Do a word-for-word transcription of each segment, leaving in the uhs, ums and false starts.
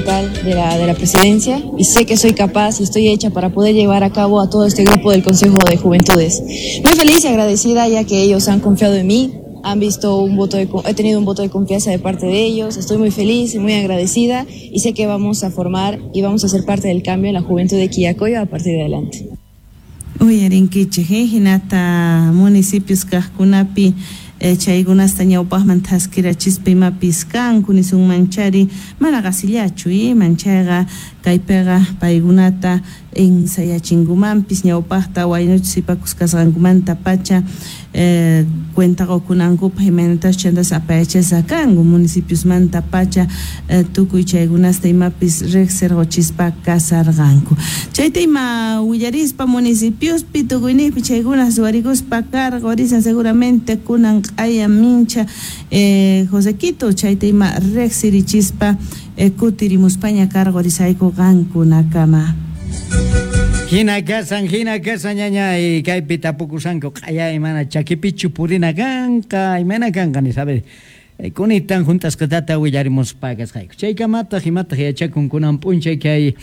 fundamental de la, de la presidencia y sé que soy capaz y estoy hecha para poder llevar a cabo a todo este grupo del Consejo de Juventudes. Muy feliz y agradecida ya que ellos han confiado en mí, han visto un voto de, he tenido un voto de confianza de parte de ellos, estoy muy feliz y muy agradecida y sé que vamos a formar y vamos a ser parte del cambio en la juventud de Quillacollo a partir de adelante. Uyarinkichik, hinata municipios kaqkunapi chaykunasta ñawpaqman thaskirachispa imapis kanku nisunman chari mana qasillachu manchayqa kaypiqa paykunata ensayachinkumanpis ñawpaqta waynuchus sipakus kasqankumanta pacha eh, cuenta qukunankupaq imaynatas chantas apayachasqa kanku municipiosmanta pacha eh, tukuy chaykunasta imapis riqsirquchispa kasarqanku chayta ima willarispa municipiospi tukuyniypi chaykunas ruwarikuspa karqa seguramente kunan q'aya mincha eh, Josequito chayta ima riqsirichispa eh, kutirimuspaña karqurisayku qankunakama. Hina kasan, hina kasan ñaña y kaypi tapukusanku q'aya imana chakipichu purina kanqa imana kanqa ni sabe kunitan juntasqatata willarimuspa kasqayku chaykamataq imataq yachakun kunan p'unchay kay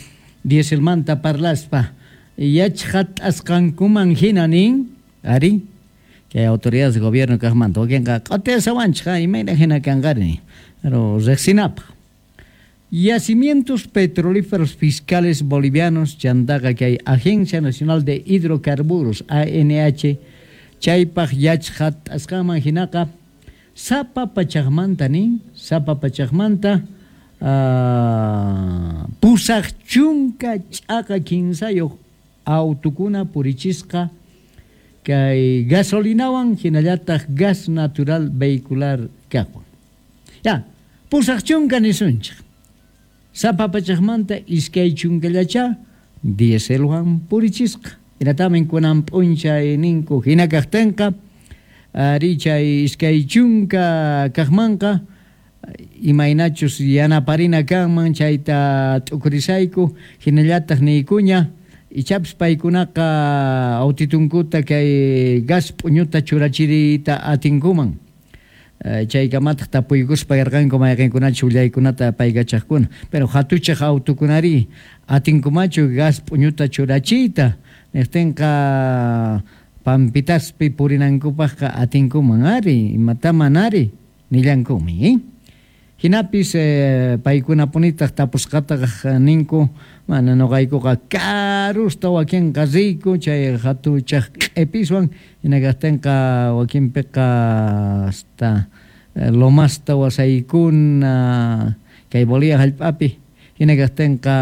dieselmanta parlaspa yachqat'asqankuman hina nin ari kay autoridades de gobierno kaqmanta wakinqa q'atiasawanchik imayna hina kanqari pero riqsinapaq. Yacimientos petrolíferos fiscales bolivianos, chantaqa kay Agencia Nacional de Hidrocarburos, A N H, chaypaq yachqat'asqanman hinaqa, sapa pachaqmanta nin, sapa pachaqmanta, uh, pusaq chunka ch'aqa kinsayuq autukuna purichisqa kay gasolinawan hinallataq gas natural vehicular kaqwan. Ya, pusaq chunka nisunchik. Sapa pachaqmanta iskay chunkallacha dieselwan purichisqa. Hinatamin kunan p'unchay ninku hina kaqtinqa ari chay iskay chunka kaqmanqa imaynachus yanaparina kanman chayta t'ukurisayku hinallataq niykuña ichapis paykunaqa autitunkuta kay gas p'uñuta churachiriyta atinkuman. Chaykamataq tapuykuspa karqanku mayqinkunachu willaykunata paykachaqkuna pero hatuchaq autukunari atinkumachu gas p'uñuta churachiyta niqtinqa pampitaspi purinankupaqqa atinkuman ari imataman ari nillankumi eh? Hinapis eh, paykunapunitaq tapusqataq ninku mana nuqaykuqa karusta wakinqa riyku chay hatuchaq q'ipiswan hinakaqtinqa wakinpiqa hasta lomasta wasaykuna kay Bolivia hallp'api hinakaqtinqa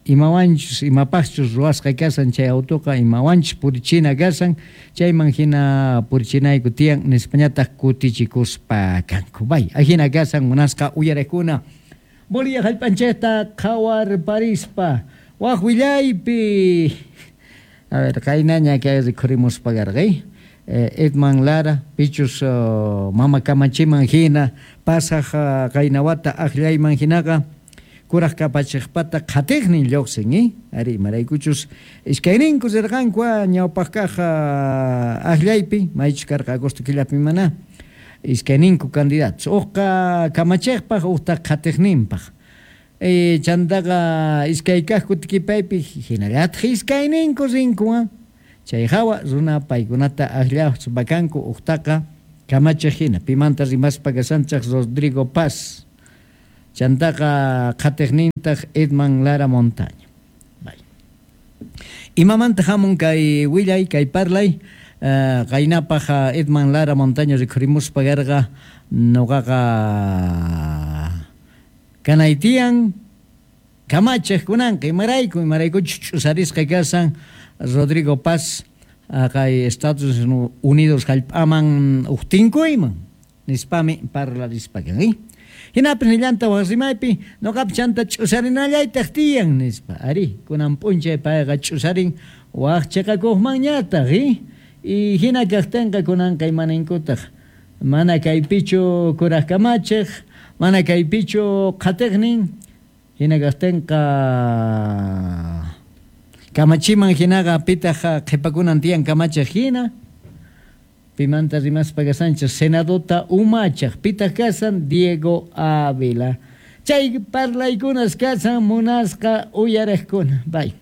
imawanchus imapaqchus ruwasqa kasan chay autuqa imawanchus purichina kasan chayman hina purichinayku tiyan nispañataq kutichikuspa kanku bay ahina kasan munasqa uyariqkuna Bolivia hallp'anchikta qhawarparispa waq willaypi a ver qaynaña kay rikhurimuspa karqay Edman Lara pichus uh, mama kamachiman hina pasaq uh, qaynawata aqllayman hinaqa kuraq kapachiqpata qhatiqnin lluqsin eh? Ari imaraykuchus iskayninku rirqanku ñawpaq kaq aqllaypi maychus karqa agosto killapi mana iskayninku candidatos uqqa kamachiqpaq uqta qhatiqninpaq e, chantaqa iskay kaq kutikipaypi hinallataq iskayninku rinku chay hawa runa paykunata aqllaspa kanku uqtaqa kamachiq hina pimanta rimaspa kasanchaq Rodrigo Paz chantaqa qhatiqnintaq Edman Lara Montaña. Bay. Imamanta hamun kay willay kay parlay uh, qaynapaq Edman Lara Montaña rikhurimuspa karqa nuqaqa kanaytiyan kamachiq kunanqa imarayku imaraykuchus ch'usarisqa kasan Rodrigo Paz kay Estados Unidos hallp'aman uqtinkuyman nispami parlarispa kan eh? Hinapis nillanta waq rimaypi nuqapi chanta ch'usarinallaytaq tiyan nispa ari kunan p'unchay payqa ch'usarin waq chiqakuqmanñataq eh? Y hina kaqtinqa kunanqa imaninkutaq mana kaypichu kuraq kamachiq mana kaypichu qhatiqnin hina kaqtinqa kamachiman hinaqa pitaq qhipakunan tiyan kamachiq hina pimanta rimaspa kasanchik senadota umachaq pitaq kasan Diego Ávila Chay parlaykunas kasan munasqa uyariqkuna. Bay.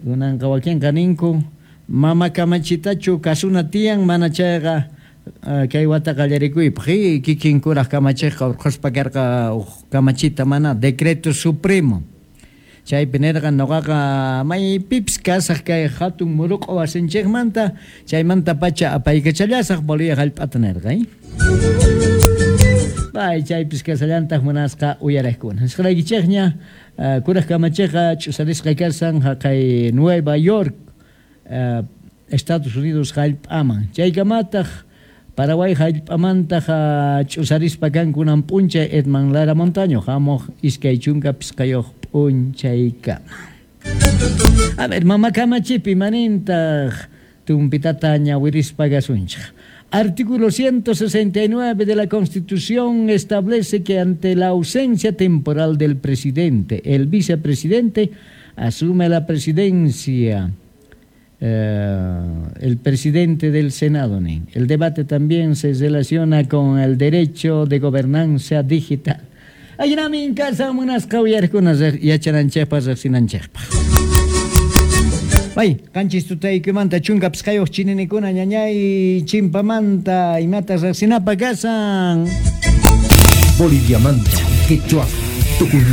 Kunanqa wakinqa ninku mama kamachitachu kasuna tiyan mana chayqa kay wata qallarikuypaq kikin kuraq kamachiqqa urqhuspa karqa uq kamachita mana decreto supremo. Chaypi nirqa nuqaqa maypipis kasaq kay hatun muruq'u wasinchikmanta chaymanta pacha apaykachallasaq Bolivia hallp'ata nirqa. Bay chaypis kasallantaq munasqa uyariqkuna. Nisqalaykichikña kuraq kamachiqqa ch'usarisqa kasan haqay Nueva York Estados Unidos hallp'aman. Chaykamataq Paraguay hallp'amantaq ch'usarispa kankunan p'unchay Edman Lara Montaño hamuq iskay chunka pisqayuq p'unchaykama. A ver, mama kamachipi manintaq tumpitata ñawirispa kasunchik. Artículo ciento sesenta y nueve de la Constitución establece que ante la ausencia temporal del presidente, el vicepresidente asume la presidencia. Eh, el presidente del Senado. El debate también se relaciona con el derecho de gobernanza digital. Aynamin casa munasqa uyariqkuna yachananchikpaq riqsinanchikpaq. Bay, qanchis tutaykumanta chunka pisqayuq chininikuna ñañay chimpamanta imata riqsinapaq kasan. Boliviamanta, quechua, tukuy.